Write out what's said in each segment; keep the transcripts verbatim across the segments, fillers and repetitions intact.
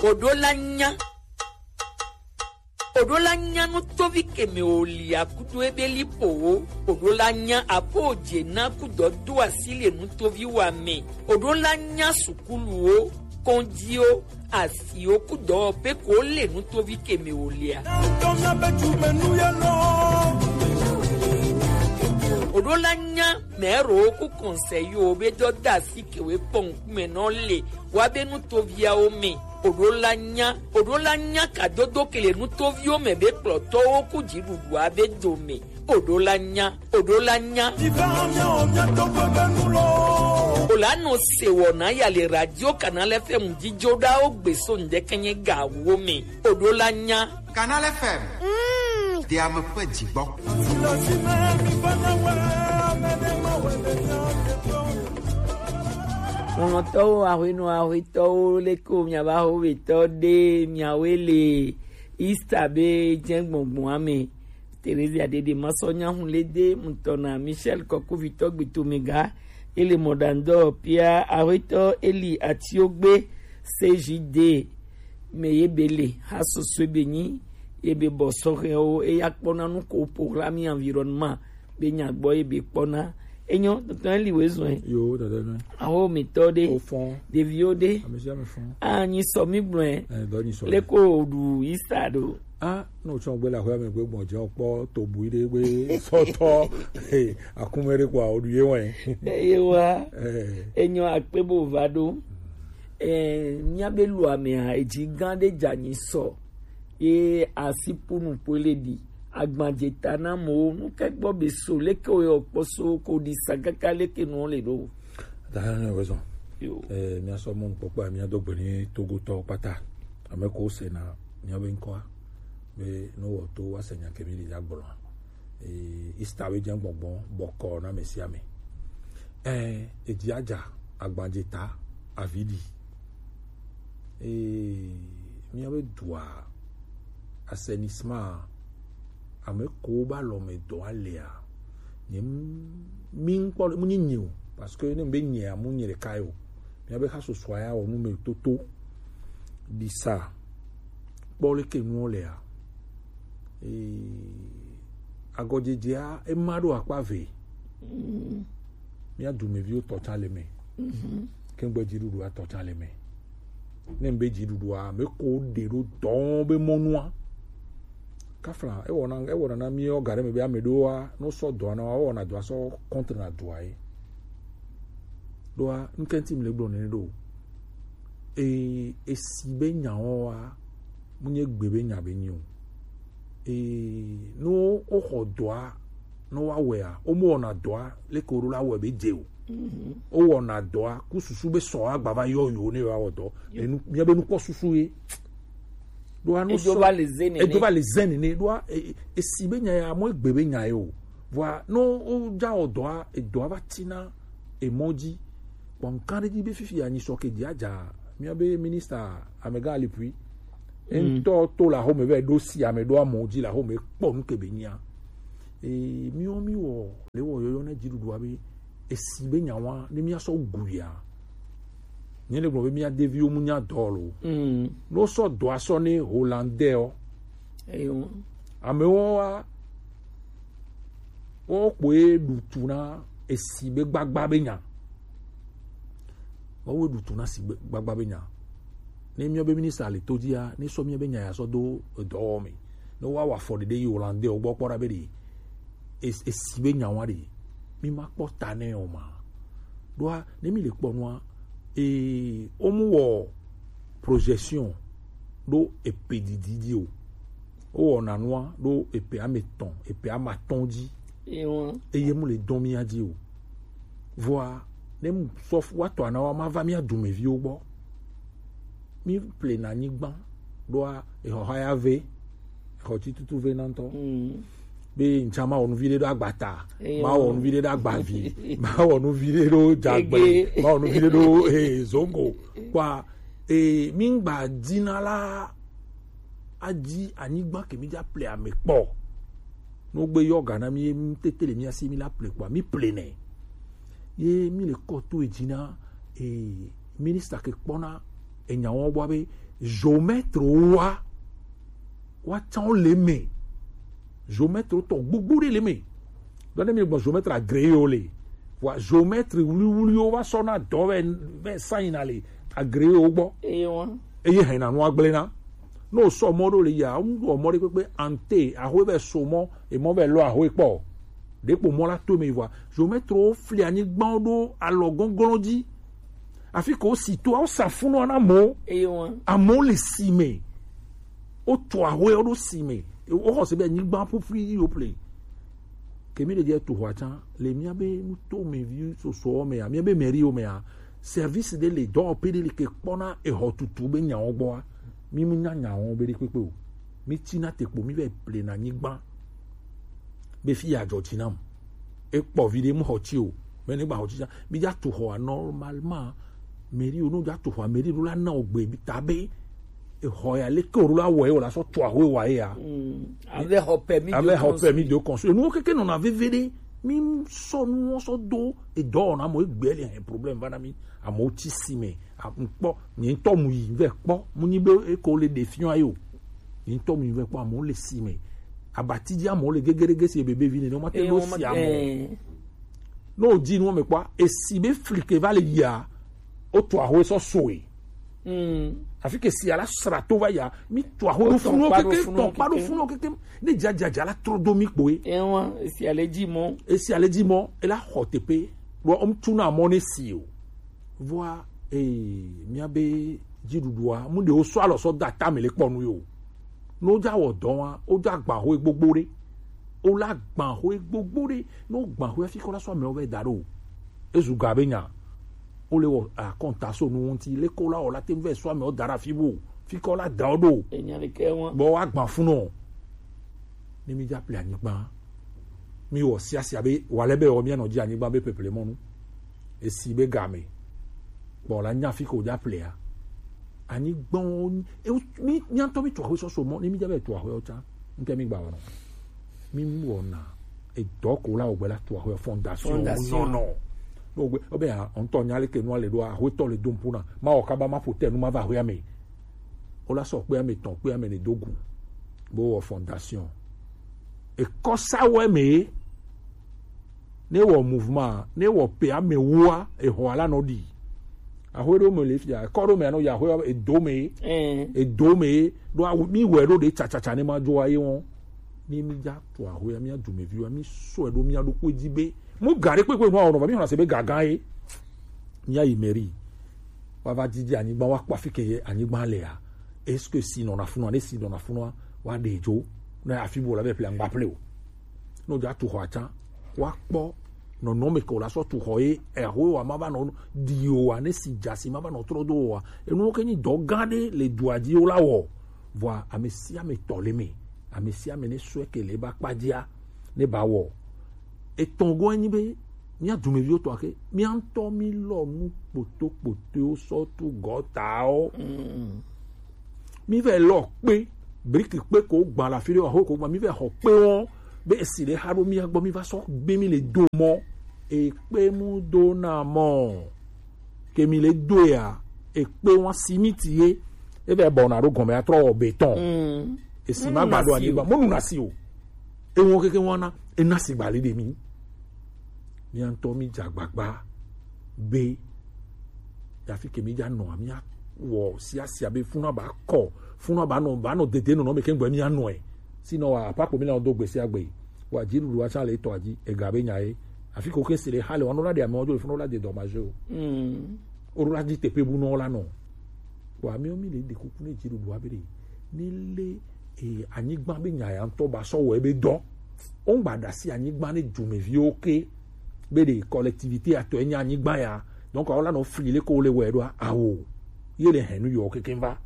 Oɖo la nya. Oɖo la nya nutovi keme o lia kudo ebe lipowo. Oɖo la nya apo je na kudo do asi le nutovi wa me. Oɖo la nya sukuluwo, kɔnjiwo, asiwo kudo pe ko le nutovi keme o lia. Oɖo la nya mɛro ku kɔnsɛyi wo be dɔ da asi kewe kpɔn kume nɔ le wa be nutoviawo me. Oɖo la nya, oɖo la nya kadodo kele nutoviwo me be kplɔtɔwo ku dziɖuɖua be dome. Oɖo la nya, oɖo la nya. Ola nɔ se wɔ na ya le radio Canal F M dzidzo ɖa wo gbe so ŋdɛkɛnyɛ ga wo me. Oɖo la nya. Canal F M. Diame ƒe dzigbɔ. Lɔlɔ̃tɔwo, aƒenɔ, aƒetɔwo, leke wo miabe ahovetɔ ɖe miawoe le Easter be dze gbɔngbɔn ame. Theresia Dede Masɔ Nyahun Lede, mutɔ na Michel Kɔkuvitɔ Gbitomega, ele mɔɖaŋdɔ Pia, aƒetɔ Eli Atiogbe, C J D, me ye be le, ha sosoe be nyi, ye be bɔ sɔhɛwo, eya kpɔna nu ko programme environnement be nya gbɔ ye be kpɔna. Enyo, tɔntɔn Eli we zɔn. Yo, dada nɔ. Awo mi tɔ de. O fɔn. Ɖeviwo de. Ame sia ame fɔn. A nyi sɔ mi gblɔe. Eh, dɔ nyi sɔ. Leko ɖu Easter ɖo. A, no tsɔ gbe la hwe me gbe gbɔn jɛ kpɔ to bui de gbe sɔtɔ. Eh, akume de kwa o du ye wɛ. Eh, ye wa. Eh. Enyo akpe bo va ɖo. Eh, mía be lu amea, edzi gã ɖe dza nyi sɔ. Ye asi ƒu nu ƒoe le ɖi. Agbadze ta na amewo, nu ke gbɔ be so, leke wo yɔ kpɔ so, ko ɖi sa kaka leke nuwo le ɖo. Dada ne wezɔn. Yo. Eh, mía sɔ mɔnukpɔkpɔ, mía do gbe ni Togotɔ kpata. Ame ko se na mía be ŋkɔa. Be no wɔ to wa se nya kemi li ya gblɔ. Eh, Easter be dze gbɔgbɔ, bɔkɔ na ame sia ame. Eh, edzi adza, agbadze ta, avi ɖi. Ee, míabe dua, assainissement, ame ko ba lɔ me dɔ alea, nye m-, mi ŋkpɔ le, mu nyi nyi o, parce que ne be nyea, mu nyi ɖeka ye o. Míabe ha susua ya wɔ nu me toto, ɖi sa, kpɔ leke nuwo lea. Ee, agɔdzedzea, ema ɖo akpa ve. Mía dumeviwo tɔ tsã le me. Kengbe dziɖuɖua tɔ tsã le me. Ne be dziɖuɖua, me ko ɖe ɖo dɔn be mɔnua. Kafla, ewɔna, ewɔna na mí ɔ ga ɖe me be ame ɖewoa, no sɔ dɔa na wa, wɔna dɔa sɔ contre na dɔa ye. Ɖoa, ŋkɛnti mi le gblɔ nene ɖo. E, esi be nyawo wa, mu nye gbe be nya be nyi o. Ee, no woxɔ dɔa, no woawɔea, womewɔna dɔa leke woɖo la wɔe be dze o. Wowɔna dɔa ku susu be sɔ agba va yɔ yewo ne yewoawɔ dɔ. Enu, míabe nukpɔsusu ye. Ɖoa no edzo sɔ-, va le ze nene. Edzo va le ze nene. Ɖoa, e, e, esi be nya ya, mɔ egbe be nya ye o. Vɔa, no wodza wɔ dɔa, edɔa va tina emɔ dzi. Kpɔ ŋkan ɖe dzi be fifi anyi sɔ ke dzi adza, míabe minista amegã Alipui. Ŋutɔ to la home vɛ ɖo si ame ɖo amɔ dzi la home kpɔ nu ke be nyia. Ee, míwo míwɔ, le wɔ yɔyɔ ne dziɖuɖua be, esi be nyawa, ne míasɔ guia. Nye le gblɔ be mía deviwo mu nya dɔ lo. No sɔ dɔa sɔ ne Hollandais o. Eyo. Amewo wa, wo kpoe ɖu tu na esi be gbagba be nya. Woawoe ɖu tu na si gbe-, gbagba be nya. Ne míabe minista le to dzia, ne sɔ míabe nya ya sɔ do edɔwɔwɔ me. Ne woawɔ afɔɖeɖe yi Hollandais wo gbɔ kpɔ ɖa be ɖe es-, esi be nya wa ɖe, mi ma kpɔ ta nɛ o ma. Ɖoa, ne mi le kpɔ nua, ee, womu wɔ projection ɖo epe didi dzi o. Wowɔna nua ɖo epe ame etɔ̃, epe ame atɔ̃ dzi. Ewa. Eye mu le dɔn mía dzi o. Vɔa, ne mu sɔ fu wa tɔ ana wa ma va mía dumeviwo gbɔ. Mi plena anyigba ɖoa, exɔha ya ve, exɔ tsi tutu ve na ŋutɔ. Be ŋtsa ma wɔ nu vi ɖe ɖo agbata, ma wɔ nu vi ɖe ɖo agbavi, ma wɔ nu vi ɖe ɖo dzagbe, ma wɔ nu vi ɖe ɖo, eh, zongo. Kpɔa, eh, mi ŋgba dina la, adzi anyigba ke mi dza ple ame kpɔ. No gbe yɔ ga na mi, mi tete le mía si mi la ple kpɔa, mi ple nɛ. Ye mi le kɔ to edzi na e, minista ke kpɔna enya wɔn gbɔ be géomètre wa wa tsã wo le me. Géomètre tɔ gbogbo ɖe le me. Dɔ ne mi gbɔ géomètre agréé wo le. Wa géomètre wuliwuliwo va sɔ na dɔ vɛ vɛ sanyina le agréé wo gbɔ. Eye wɔn. Eye hɛn na nua gblẽ na. Ne wòsɔ mɔ ɖo le yia, ŋu wɔ mɔ ɖe kpekpe ante, ahoe vɛ so mɔ, emɔ vɛ lɔ ahoe kpɔ. Ɖekpo mɔ la to me vɔa, géomètre wo fli anyigbawo ɖo alɔ gɔnglɔn dzi. Afi ke wosi toa, wosa funua na amewo. Eye wɔn. Amewo le si me. Wotu ahoewo ɖo si me. Woxɔ se be anyigba ƒuƒui yi wo ple. Ke mi ɖe dze tu xɔa tsã, le mía be nuto me vi sosoɔ mea, mía be mɛriwo mea, service ɖe le dɔwɔƒe ɖe li ke kpɔna exɔ tutu be nyawo gbɔa, mi mu nya nyawo be ɖe kpekpe o. Mi tsina te kpo, mi vɛ plena anyigba be fi ya dzɔ tsi nam. Ekpɔ vi ɖe mu xɔ tsi o, mɛ ne gba xɔ tsi tsã, mi dza tu xɔa normalement. Mɛriwo no dza tu xɔa, mɛri ɖo la na o gbe ta be exɔ ya leke o ɖo la wɔ ye o la sɔ tu axɔ wa ye ya. Ave xɔ pɛ mi ave xɔ pɛ mi de construire. Nuwo keke nɔna veve ɖe, mi sɔ nuwo sɔ do edɔ wɔna mo egbe le hɛn problème va na mi. Amewo tsi si me. Ŋkpɔ nye ŋutɔ mu yi vɛ kpɔ, mu nyi be eko le ɖe fiɔ ayi o. Nye ŋutɔ mu yi vɛ kpɔ, amewo le si me. Abati dzi amewo le gegedege si bebe vi nene, woma te ɖo si amewo. Ne wòdzi nuwo me kpɔa, esi be flike va le yia, wotu ahoe sɔ soe. Afi ke sia la sra to va ya, mi tu ahoe ɖo funuwo keke, tɔn kpa ɖo funuwo keke. Ne dzadzadza la trɔ do mi kpoe. Ewa, esi ale dzi mɔ. Esi ale dzi mɔ, ela xɔ teƒe. Ɖo ŋutsu na mɔ ne si o. Vɔa, ee, mía be dziɖuɖua, mu ɖe wo sɔ alɔ sɔ da ta me le kpɔ nu yo. Ne wo dza wɔ dɔ wa, wo dza gba ho gbogbo ɖe. Wo la gba ho gbogbo ɖe. Ne wo gba ho fi kɔ la sɔ amewo vɛ da ɖo. Ezu ga be nya. Wo le wɔ akɔnta so nu ŋuti. Le ko la wɔ la te vɛ sɔ amewo da ɖe afi bo. Fi kɔ la da wo ɖo. Enya ɖe ke wa. Bɔ wa gba fun nɔ. Ne mi dza ple anyigba. Mi wɔ siasia be, wale be wɔ mía nɔ dzi anyigba be peple mɔnu. Esi be game. Bɔ la nya fi ko dza plea. Anyigba wo nyi, e, mi, mía ŋutɔ mi tu ahoe sɔsɔ mɔ, ne mi dza be tu ahoe wo tsã. Ŋke mi gba wɔnɔ. Mi wɔna. Edɔ ko la wɔ gbe la tu ahoe fondation. Fondation. Nɔnɔ. No gbe, obe ya, ŋutɔ nya le ke nua le ɖo, ahoe tɔ le dom puna. Ma wɔ kaba ma ƒo te nu ma va ahoe ame. Wo la sɔ kpe ame tɔn kpe ame ne do gu. Bo wɔ fondation. Ekɔsa wɛ me. Ne wɔ mouvement, ne wɔ pe ame wua, ehɔ ala nɔ ɖi. Ahoe ɖo me le fia, ekɔ ɖo me anɔ ya ahoe edo me. Edo me, ɖo awu mi wɛ ɖo ɖe tsatsatsa ne ma dzo aye wɔn. Mi mi dza to ahoe, mi adu me viwa, mi sɔ ɖo mi aɖo kpe dzi be. Mu ga ɖe kpekpe nu awɔ nɔ va, mi xɔna se be gaga ye. Mía yi mairie. Wa va didi anyigba, wa kpɔ afi ke anyigba lea. Est-ce que si nɔna funua, ne si nɔna funua, wa ɖe dzo. Ne afi bo la be ple angba ple o. No dza tu xɔ atsa. Wa kpɔ nɔnɔme ke o la sɔ tu xɔ ye, eho wa ma va nɔ di o wa, ne si dza si ma va nɔ trɔ do o wa. Enuwo ke nyi dɔ gã ɖe le dua dzi o la wɔ. Vɔa ame sia ame tɔ le me. Ame sia ame ne sɔe ke le ba kpa dzia, ne ba wɔ. Etɔ̃ gɔ̃ enyi be, mía dumeviwo tɔ ake, mía ŋutɔ mí lɔ nu kpotokpotoewo sɔ tu gɔtawo. Mm. Mí vɛ lɔ kpe, briki kpe ko gba le afi ɖe, aho ko gba, mí vɛ xɔ kpe wɔn, be esi ɖe xa ɖo mía gbɔ, mí va sɔ gbe mí le do mɔ. Ekpe mu do na mɔ. Ke mi le do ya, ekpe wa simiti ye, e vɛ bɔ na ɖo gɔme atrɔ wɔ béton. Mm. Esi ma gba ɖo anyigba, mo nu na si o. E wɔn keke wɔn na, e na si gba le ɖe mi. Mía ŋutɔ mí dze agbagba be, yafi ke mí dza nɔ, mía wɔ siasia be funa ba kɔ, funa ba nɔ, ba nɔ dede nɔnɔ me ke ŋgbɔ mía nɔe. Sinɔ wa, apa ko mí na do gbe sia gbe. Wa dziɖuɖu wa tsã le etɔ dzi, ega be nya ye. Afi ko ke si le xa le, wa nɔ la ɖe amewo dzo le funa la de dɔmaje o. Mm. O la di teƒe bu nɔ la nɔ. Wa mi mi le de kuku ne dziɖuɖu wa be de. Ni le e, anyigba be nya ya ŋutɔ ba sɔ wɔ ebe dɔ. Wo ŋgba ɖe asi anyigba ne dumeviwo ke be ɖe collectivité atɔe nye anyigba ya. Donc awo la nɔ fli le ko le wɔe ɖoa awo. Ye le hɛn nu yɔ keke va.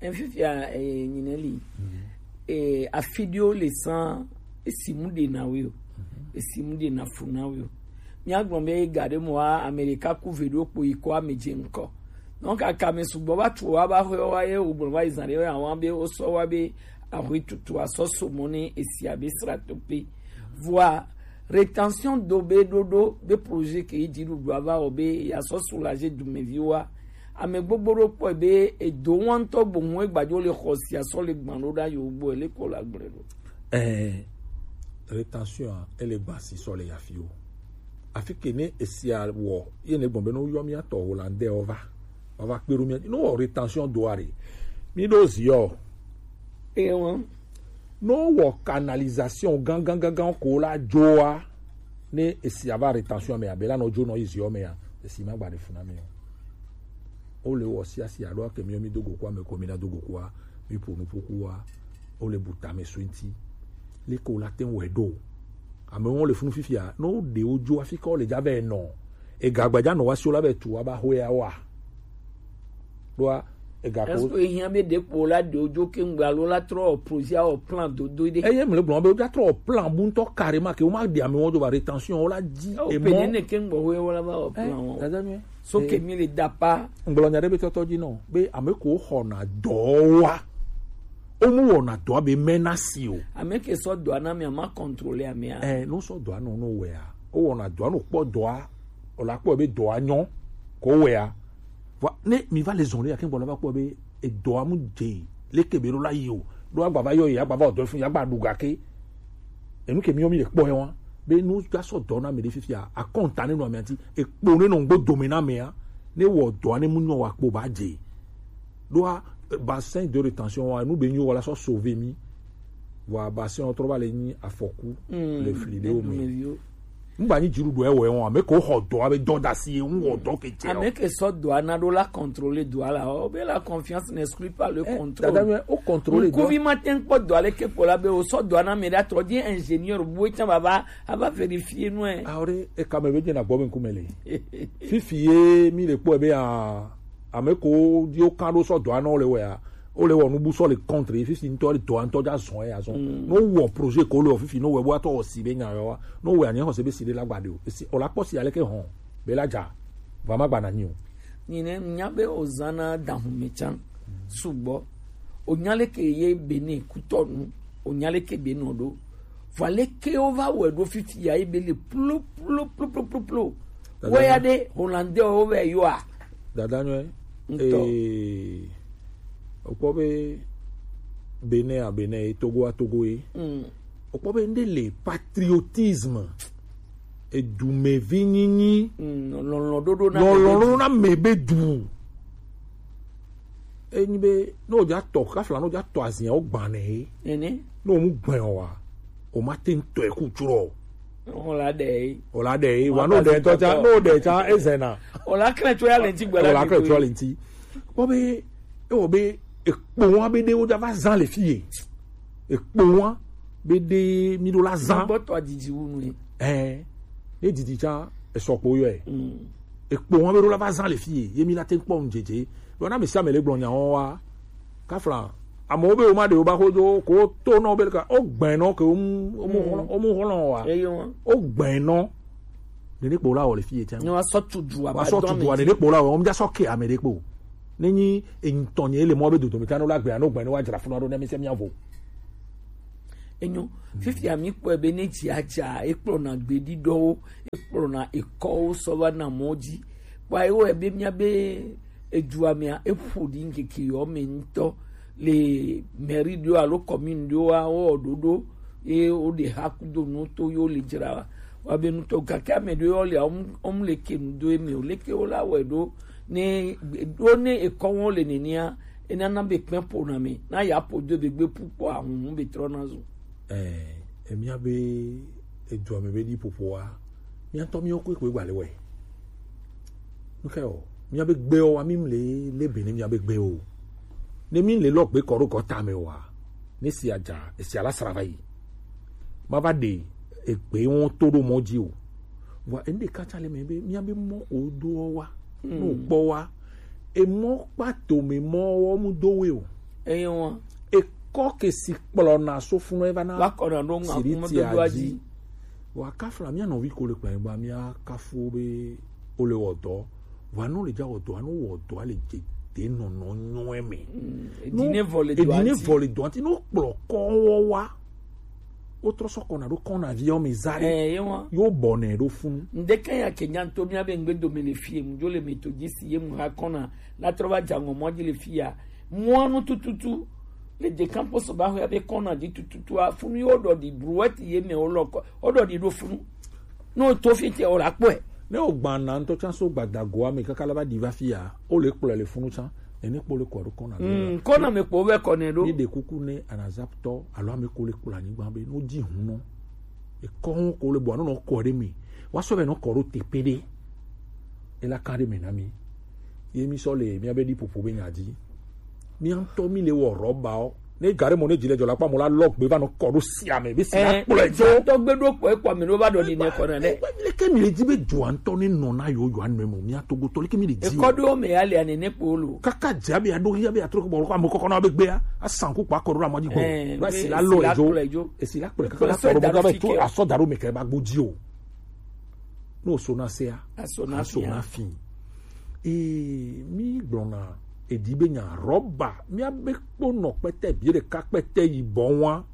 Efifia e nyine li. E, afi ɖewo le san esi mu ɖe na wo. Esi mu ɖe na fu na wo. Míagblɔ be ga ɖe mɔa, Amerika ku ve ɖo kpo yi kɔ ame dze ŋkɔ. Donc, kaka ame sugbɔ va tu wa va xɔ wa ye, wogblɔ va yi zã ɖe wa wa be wosɔ wa be ahoe tutu asɔ so mɔ ne esia be sra to pe. Vɔa, Rétention do be ɖoɖo be projet ke yi dziɖuɖu ava wɔ be yeasɔ soulager dumeviwoa. Ame gbogbo ɖo kpɔe be edo ŋutɔ gbohun egbadzo le xɔ sia sɔ le gbã ɖo ɖa yewo gbɔ ele kɔ la gblẽ ɖo. Ɛɛ, rétention a, ele gbã si sɔ le yafi o. Afi ke ne esia wɔ, ye ne gbɔn be no yɔ mía tɔ Hollandais o va. Ava kpe ɖo mía, no wɔ rétention do a ɖe. Mi ɖo zi o. Ewa. No wɔ canalisation gangan gangan ko la dzoa, ne esi ava rétention me abe la no dzo no izi o me ya, esi ma gba de funa me o. O le wɔ sia sia ɖo ke mi mi do go kwa me ko mi na do go kwa, mi po nu po kuwa, o le buta me so nti. Le ko la ten wɛ do. Ame wo le funu fifia, no de o dzo afi ko le ja ve no. Ega gbadza nɔ wa si wo la be tu wa ba hwe ya wa. Ɖoa ega ko. Est-ce que ehiã be ɖe kpo la ɖe wo dzo ke ŋgbe alo la trɔ projet awɔ plan dodo ɖe? Eye mle gblɔ be wo dza trɔ plan bu ŋutɔ carrément ke wo ma ɖe ame wo dzo ba rétention wo la dzi. Oh, emɔ pene ne ke ŋgbɔ hwe wo la ba wɔ plan wo. Dada mi. So ke mi le da pa. Ŋgblɔ nya ɖe be tɔtɔ dzi nɔ be ame ko xɔna dɔ wa. Wo mu wɔna dɔa be mɛna si o. Ame ke sɔ dɔa na mi ama contrôler amea. Ɛ, no sɔ dɔa nɔ no wɛa. Wo wɔna dɔa no kpɔ dɔa. O la kpɔ be dɔa nyɔ ko wɛa. Vɔ ne mi va le zɔn le yake gbɔ la va kpɔ be edɔa mu dze leke be ɖo la yi o. Ɖo agba va yɔ yi agba va ɔdɔ fun agba ɖu gake. Enu ke mi yɔ mi le kpɔ yɛ wa be nu ga sɔ dɔ na mi ɖe fifia akɔnta ne nɔ amea ti ekpo ne nɔ ŋgbo dome na amea ne wɔ dɔa ne mu nyɔ wa kpo ba dze. Ɖoa bassin de rétention wa nu be nyo wala sɔ sauver mi. Vɔ bassin trɔ va le nyi afɔku le fli ɖewo me. Ŋgba nyi dziɖuɖu ewɔe wɔn ame ko xɔ dɔ abe dɔ dasi ye ŋu wɔ dɔ ke tse. Ame ke sɔ dɔa na ɖo la contrôler dɔa la o be la confiance n'exclut pas le contrôle. Dada mi o contrôler dɔ. Ŋkuvi ma te ŋkpɔ dɔa le ke kpɔ la be o sɔ dɔa na me ɖa trɔ di ingénieur bu etsa baba ava vérifier nu ɛ. Awo ɖe eka me be dze na gbɔ be ŋkume le. Fifi ye mi le kpɔ ebe a ame ko di o kan ɖo sɔ dɔa na o le wɛ a. Wo le wɔ nubu sɔ le contre ye fifi ŋutɔ le dɔa ŋutɔ dza zɔn ye azɔn. No wɔ projet ko le wɔ fifi no wɔ ebo atɔ wɔ si be nya yɔ wa. No wɔ anya xɔ se be si de la gba de o. Esi o la kpɔ si ale ke hɔn be la dza. Va ma gba na nyi o. Nyi ne nya be o zana dahun me can. Sugbɔ. O nya le ke ye be ne kutɔ nu. O nya le ke be no do. Vɔ ale ke o va wɔ do fifi ya ye be le plo plo plo plo plo plo. Wɔ ya de Hollandais o ve yɔ a. Dada nyɔe. Ŋutɔ. Ee, okpɔ be Benin a Benin ye, Togo a Togo ye. Okpɔ be nde le patriotisme, edumevi nyinyi, lɔlɔ̃ɖoɖo na lɔlɔ̃ɖoɖo na me be du. Enyi be ne o dza tɔ kafla ne o dza tɔ azia o gbanɛ ye. Ene. Ne o mu gbɛn o wa, o ma te ŋutɔ ku tsurɔ. O la ɖe ye. O la ɖe ye. Wa no ɖe tɔ tsa, no ɖe tsa ezena. O la kle tso ya le ŋti gbe la. O la kle tso ya le ŋti. Kpɔ be ewɔ be ekpo wa be ɖe wo dza va zan le fi ye. Ekpo wa be ɖe mi ɖo la zan. Gbɔtɔ didi wu nu ye. Ɛ, ne didi tsa esɔ kpo yɔ ye. Ekpo wa be ɖo la va zan le fi ye. Ye mi la te kpɔ nu dzedze. Ɖo na mi sia mi le gblɔ nya wa. Kafla amewo be wo ma ɖe wo ba xo dzo ko to nɔ be ka o gbɛn nɔ ke o mu o mu xlɔ o mu xlɔ wa. Eyo wa. O gbɛn nɔ. Nene kpo la wɔ le fi ye tiɛ. Ne wa sɔ tu du wa sɔ tu du wa nene kpo la wɔ o mu ja sɔ ke ame ɖe kpo. Ne nyi enyitɔ nye le mɔ be dodo mi ta no la gbɛ no gbɛn no wa dzra funa ɖo ne mi se mi avo. Enyo. Fifia mi kpɔe be ne dzi adza ekplɔna gbeɖiɖɔwo ekplɔna ekɔwo sɔ va na mɔ dzi. Kpɔa ewɔe be mía be edua mea eƒo ɖi ŋkeke yɔ me ŋutɔ le mairie ɖewo alo commune ɖewoa wowɔ ɖoɖo ye woɖe ha kudo nuwo to ye wole dzra wa be ŋutɔ gake ame ɖewo le wɔm wɔm le ke nu do eme o leke wola wɔe ɖo ne ɖo ne ekɔ wɔm le nenea enana be kpɛ ƒona me na ya ƒo do be gbe ƒu kpɔ ahũhũ be trɔna zu. Ɛɛ, emia be edua me be ɖiƒoƒoa, mia ŋutɔ miwo koe koe gba le wɔe. Nuke o, mia be gbewo wa mi le le be ne mia be gbewo. Ne mi le lɔ gbe kɔ ɖo gɔta me wa, ne sia dza, esia la sra va yi. Ma va ɖe egbe wo to ɖo mɔ dzi o. Vɔ enu ɖeka tsa le me be mia be mɔ ko do wa, no kpɔ wa. Emɔ kpa to me mɔ wɔ mu do we o. Eye wa. Ekɔ ke si kplɔna sofunɔ eva na. Va kɔna ɖo ŋu akume dodo adzi. Wa kafla mia nɔvi ko le kplɔ ba mia kafu be o le wɔ dɔ. Wa no le dza wɔ dɔ, no wɔ dɔ le dze de nɔnɔ nyɔɛ me. Edine vɔ le dɔ ati. Edine vɔ le dɔ ati no kplɔ kɔ wɔ wa. Wotrɔ sɔ kɔna ɖo kɔna avion me za ɖe. Ɛ ye wɔn. Yo bɔ nɛ ɖo funu. Ŋdeke ya ke nyanto mía be ŋgbe dome le fie mu dzo le metodisi ye mu ha kɔna la trɔ va dza ŋɔ mɔ dzi le fia. Mɔa nu tututu le de campus ba ho ya be kɔna dzi tututu a funu yo ɖɔ di brouette ye me wo lɔ kɔ wo ɖɔ di ɖo funu. No to fi te o la kpɔe. Ne o gbana ŋutɔ tsã so gbadagoa me kaka la va ɖi va fia, o le kplɔe le funu tsã. Ene kpo le kɔ ɖo kɔna. Mm, kɔna me kpo vɛ kɔ nɛ ɖo. Mi ɖe kuku ne anazaptɔ alo ame ko le kplɔ anyigba be no dzi hun nɔ. Ekɔ ho ko le bɔ anɔ nɔ kɔ ɖe mi. Wa sɔ be nɔ kɔ ɖo tepe ɖe. Ela kan ɖe mi na mi. Ye mi sɔ le mi abe ɖi popo be nya dzi. Mi ŋutɔ mi le wɔ rɔba o. Ne gare mo ne dzi le dzɔ la kpa mo la lɔ gbe va nɔ kɔ ɖo sia me be si la kplɔe dzo. Tɔgbe ɖo kpɔ ekpɔ mi ɖo va ɖɔ ni ne kɔ nɛ. Egbe mi le ke mi le dzi be dzoa ŋutɔ ne nɔ na yo yo anu mo mi atogotɔ le ke mi le dzi. Ekɔ ɖo me ya le ane ne kpo lo. Kaka dze abe aɖo ya be atrɔ bɔ kɔ ame kɔkɔ na be gbea asan ku kpa kɔ ɖo la mɔ dzi gbɔ. Ba si la lɔ edzo. Esi la kplɔe kaka la kɔ ɖo mo ga be to asɔ da ɖo me ke ba gbo dzi o. No so na sea. Aso na fia. Ee, mi gblɔna edi be nya rɔba, mi abe kpo nɔ kpɛtɛ bi ɖeka kpɛtɛ yibɔ wa.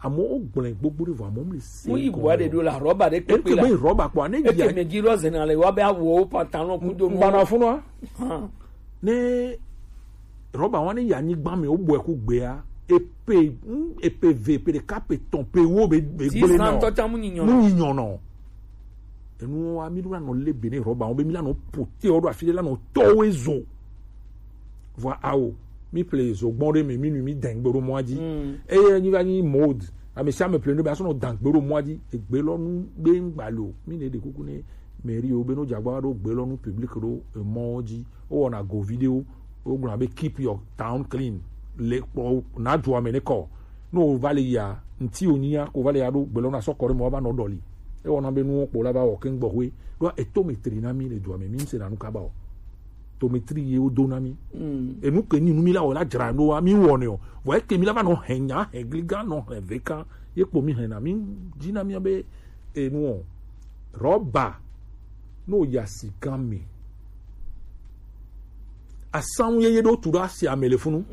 Amewo gblẽ gbogbo ɖe vɔ amewo mli se. Mu yi bua ɖe ɖo la rɔba ɖe kpekpe la. Eke be rɔba kpɔ ne eke me gi lɔ zena le wa be awo pantalon kudo nu. Gbana funua. Ne rɔba wa ne ya nyigba me wo bɔe ku gbea epe mm, epe ve epe ɖeka pe tɔn pe wo be be gblẽ na. Ŋutɔ ta mu nyinyɔ. Mu nyinyɔ nɔ. Enu wa mi ɖo la nɔ le be ne rɔba wo be mi la nɔ pote wo ɖo afi ɖe la nɔ tɔ wo ezo. Vɔ awo mi ple zo gbɔn ɖe me mi nu mi dɛn gbe ɖo mɔa dzi. Eye nyi va nyi mode ame sia ame ple nu be asɔ nɔ dan gbe ɖo mɔa dzi egbe lɔ nu be ŋgba le o mi ne ɖe kuku ne mairie wo be no dzagba ɖo gbe lɔ nu public ɖo emɔ dzi. Wowɔna go video wogblɔna be keep your town clean le kpɔ na dua me ne kɔ. Ne wova le yia ŋti wonyia ko va le ya ɖo gbe lɔ na sɔ kɔ ɖe me wova nɔ ɖɔli. Ewɔna be nuwo kpo la va wɔ keŋ gbɔxwe ɖo etometri na mi le dua me mi ŋse na nu kaba o. Tometri ye wodo na mi. Enu ke nyi nu mi la wɔ la dzra ɖo wa mi wɔnɛ o. Vɔ eke mi la va nɔ hɛn nya hɛn gliga nɔ hɛn veka ye kpo mi hɛn na mi dzi na mi be enu o. Rɔba no ya sigan me. Asanwu yeye ɖo tu ɖo asi ame le funu.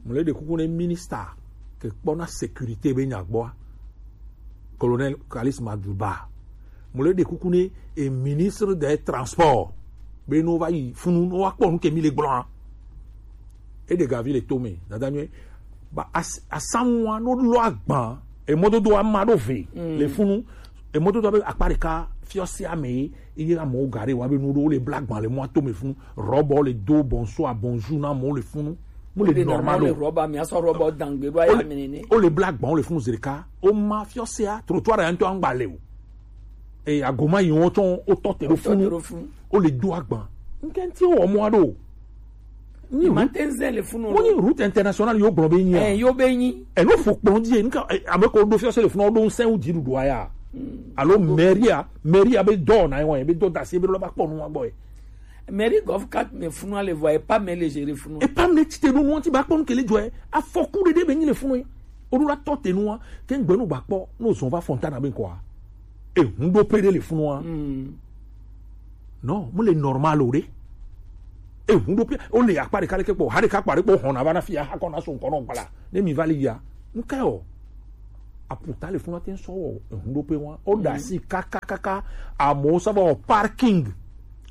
Mo le ɖe kuku ne minista ke kpɔna sécurité be nya gbɔa. Colonel Kalis Maduba. Mo le ɖe kuku ne e ministre des transports be no va yi funu no wa kpɔ nu ke mi le gblɔa. E ɖe gavi le tome dada nyuie. Ba as- asanwua no lɔ agban emɔdodo ama ɖo ve le funu emɔdodo be akpa ɖeka fiɔsi ame ye eye amewo ga ɖe wa be nu ɖo wo le bla agban le mɔa tome funu rɔbɔ le do bonsoir bonjour na amewo le funu mo le normal o. Rɔba mi asɔ rɔba dangbe ɖo aya mi nene. Wo le bla agban wo le funu zi ɖeka wo ma fiɔsia trottoir ya ŋutɔ aŋgba le o. Eye agoma yi wo tsɔ wo tɔ te ɖo funu wo le do agban ŋkɛnti wo wɔ mɔa ɖo. Ni ma te ŋze le funu. Wonyi route internationale yo gblɔ be nyi. Eh yo be nyi. Eno fo kplɔ dzi nika ame ko do fiɔse le funu do ŋsɛ wo dziɖuɖua ya. Alo mairie mairie be dɔ na ye wa be dɔ dasi be lɔ ba kpɔ nu wa gbɔ ye. Mairie gɔf kat me funu ale vɔ epa me le gere funu. Epa me ti te do nu ti ba kpɔ nu kele jɔ ye afɔku ɖeɖe be nyi le funu ye. Oɖo la tɔ te nua ke ŋgbe nu ba kpɔ no zɔn va Fontana be nkɔa. Ehun ɖo pe ɖe le funua. Non mo le normal o ɖe. Ehun ɖo pe o le akpa ɖeka ɖe ke kpɔ ha ɖeka kpa ɖe kpɔ hɔn na va na fia ha kɔ na so nkɔ nɔ gbala ne mi va le ya. Nke o aputa le funua te ŋsɔ wɔ ehun ɖo pe wa o da si kaka kaka. Amewo sɔ va wɔ parking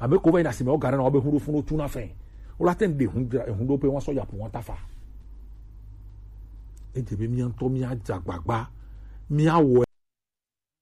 ame ko va yi na si me o gare na wo be hun ɖo funu tu na fɛ. Wo la te ŋ ɖe ehun ɖo pe wa sɔ ya pu wa ta fa. Edze be mía ŋutɔ mía dze agbagba mía wɔ